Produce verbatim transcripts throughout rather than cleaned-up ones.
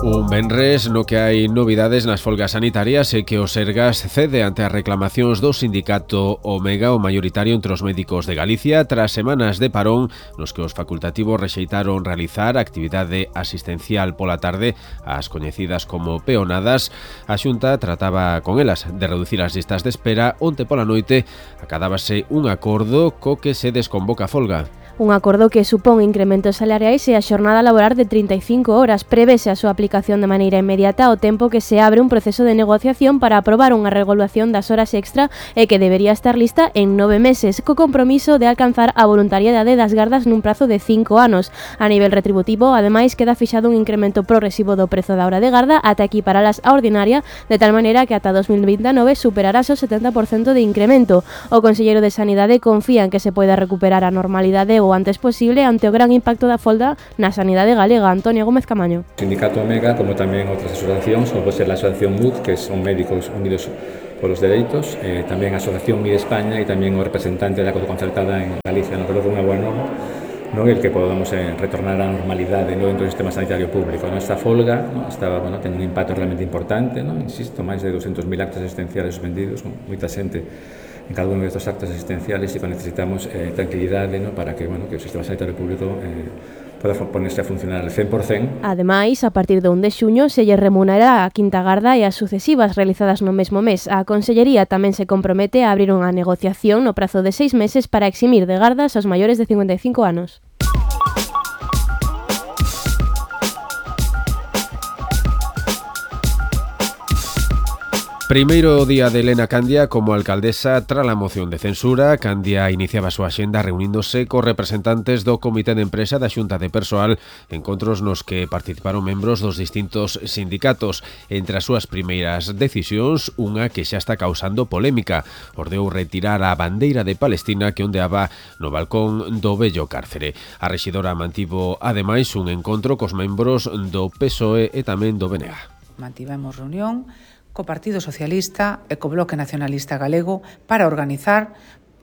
Un venres no que hai novidades nas folgas sanitarias e que o Sergas cede ante as reclamacións do sindicato Omega, o maioritario entre os médicos de Galicia, tras semanas de parón nos que os facultativos rexeitaron realizar actividade asistencial pola tarde, as coñecidas como peonadas. A Xunta trataba con elas de reducir as listas de espera. Onte pola noite acadábase un acordo co que se desconvoca a folga. Un acordo que supón incrementos salariais e a xornada laboral de trinta e cinco horas. Prevese a súa aplicación de maneira inmediata ao tempo que se abre un proceso de negociación para aprobar unha regulación das horas extra e que debería estar lista en nove meses, co compromiso de alcanzar a voluntariedade das gardas nun prazo de cinco anos. A nivel retributivo, ademais, queda fixado un incremento progresivo do prezo da hora de garda ata equiparalas á ordinaria, de tal maneira que ata dos mil vinte e nove superarás o setenta por cento de incremento. O conselleiro de Sanidade confía en que se poida recuperar a normalidade o antes posible ante o gran impacto da folga na sanidade galega. Antonio Gómez Camaño. O sindicato Omega, como tamén outras asociacións, como pode ser a asociación M U D, que son Médicos Unidos polos Dereitos, eh, tamén a asociación M I de España e tamén o representante da concertada en Galicia, no creo que é unha boa norma, non el que podamos eh, retornar á normalidade no dentro do sistema sanitario público. Esta folga no, estaba, bueno, ten un impacto realmente importante, no? Insisto, máis de doscientos mil actos asistenciales suspendidos, con moita xente en cada uno de estos actos asistenciales, y necesitamos eh, tranquilidad, ¿no? Para que, bueno, que o sistema sanitario público eh, poda ponerse a funcionar al cen por cen. Ademais, a partir do un de xuño se lle remunerará a quinta garda e as sucesivas realizadas no mesmo mes. A Consellería tamén se compromete a abrir unha negociación no prazo de seis meses para eximir de gardas aos maiores de cincuenta e cinco anos. Primeiro día de Elena Candia como alcaldesa tras a moción de censura. Candia iniciaba a súa axenda reuníndose cos representantes do Comité de Empresa da Xunta de Persoal, encontros nos que participaron membros dos distintos sindicatos. Entre as súas primeiras decisións, unha que xa está causando polémica, ordeou retirar a bandeira de Palestina que ondeaba no balcón do vello cárcere. A rexidora mantivo ademais un encontro cos membros do P S O E e tamén do B N G. Mantivemos reunión co Partido Socialista e co Bloque Nacionalista Galego para organizar,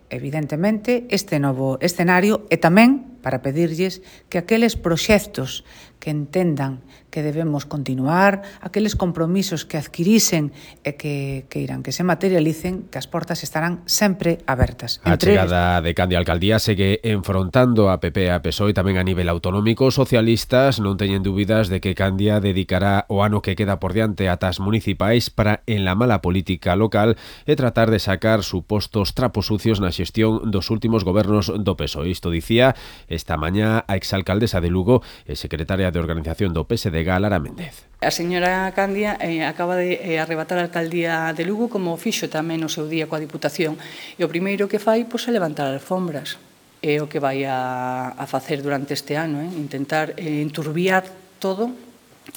evidentemente, este novo escenario e tamén para pedirlles que aqueles proxectos que entendan que debemos continuar, aqueles compromisos que adquirisen e que, que irán que se materialicen, que as portas estarán sempre abertas. A chegada de Candia á alcaldía segue enfrontando a P P e a P S O E e tamén a nivel autonómico. Socialistas non teñen dúbidas de que Candia dedicará o ano que queda por diante ata as municipais para enlamar a política local e tratar de sacar supostos trapos sucios na xestión dos últimos gobernos do P S O E. Isto dicía esta mañá a exalcaldesa de Lugo e secretaria de organización do P S D G, Lara Méndez. A señora Candia eh, acaba de eh, arrebatar a alcaldía de Lugo, como fixo tamén no seu día coa Diputación, e o primeiro que fai pois, é levantar alfombras. É o que vai a, a facer durante este ano, eh? intentar eh, enturbiar todo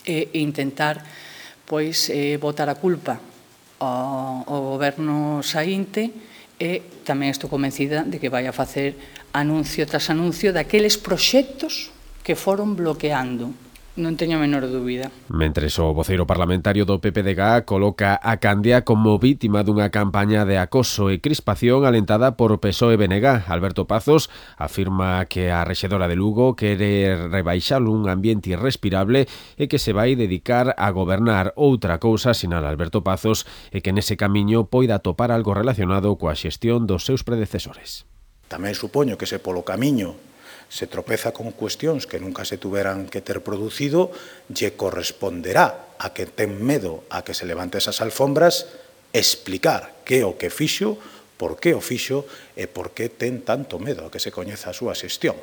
e eh, intentar pois, eh, botar a culpa ao, ao goberno saínte, e tamén estou convencida de que vai a facer anuncio tras anuncio daqueles proxectos que foron bloqueando. Non teño a menor dúbida. Mentres o voceiro parlamentario do P P D G coloca a Candia como vítima dunha campaña de acoso e crispación alentada por P S O E e B N G. Alberto Pazos afirma que a rexedora de Lugo quere rebaixar un ambiente irrespirable e que se vai dedicar a gobernar. Outra cousa, sinala Alberto Pazos, é que nese camiño poida topar algo relacionado coa xestión dos seus predecesores. Tamén supoño que se polo camiño se tropeza con cuestións que nunca se tuveran que ter producido, lle corresponderá a que ten medo a que se levante esas alfombras explicar que o que fixo, por que o fixo e por que ten tanto medo a que se coñeza a súa xestión.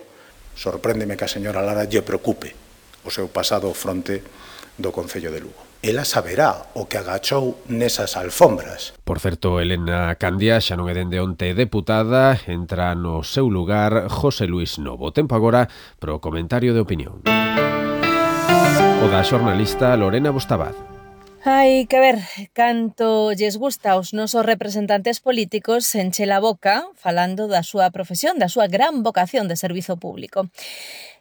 Sorpréndeme que a señora Lara lle preocupe o seu pasado fronte do Concello de Lugo. Ela saberá o que agachou nesas alfombras. Por certo, Elena Candia xa non é dende onte deputada, entra no seu lugar José Luis Novo. Tempo agora pro comentario de opinión. O da xornalista Lorena Bostabad. Hai que ver canto lles gusta aos nosos representantes políticos enche a boca falando da súa profesión, da súa gran vocación de servizo público.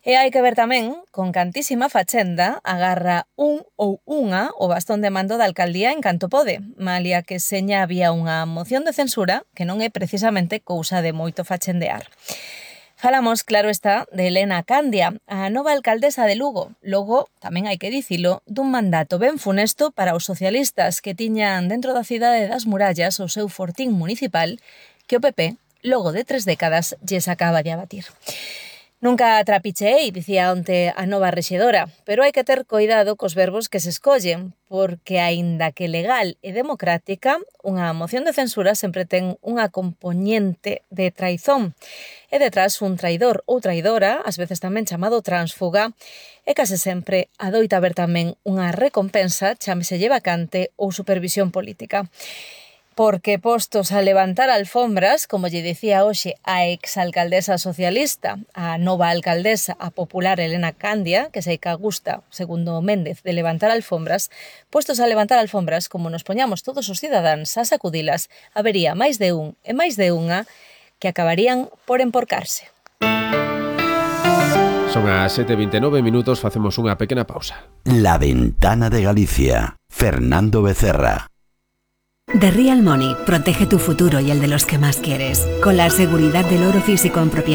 E hai que ver tamén con cantísima fachenda agarra un ou unha o bastón de mando da alcaldía en canto pode, malia que seña había unha moción de censura que non é precisamente cousa de moito fachendear. Falamos, claro está, de Elena Candia, a nova alcaldesa de Lugo. Logo, tamén hai que dicilo, dun mandato ben funesto para os socialistas que tiñan dentro da cidade das murallas o seu fortín municipal que o P P, logo de tres décadas, lles acaba de abatir. Nunca trapicheei, dicía onte a nova rexedora, pero hai que ter coidado cos verbos que se escollen, porque aínda que legal e democrática, unha moción de censura sempre ten unha compoñente de traizón. E detrás un traidor ou traidora, ás veces tamén chamado tránsfuga, e case sempre adoita haber tamén unha recompensa, chámeselle vacante ou supervisión política. Porque postos a levantar alfombras, como lle dicía hoxe a exalcaldesa socialista, a nova alcaldesa, a popular Elena Candia, que sei que gusta, segundo Méndez, de levantar alfombras, postos a levantar alfombras, como nos poñamos todos os cidadáns a sacudilas, habería máis de un e máis de unha que acabarían por emporcarse. Son as sete e vinte e nove minutos, facemos unha pequena pausa. La Ventana de Galicia, Fernando Becerra. The Real Money protege tu futuro y el de los que más quieres, con la seguridad del oro físico en propiedad.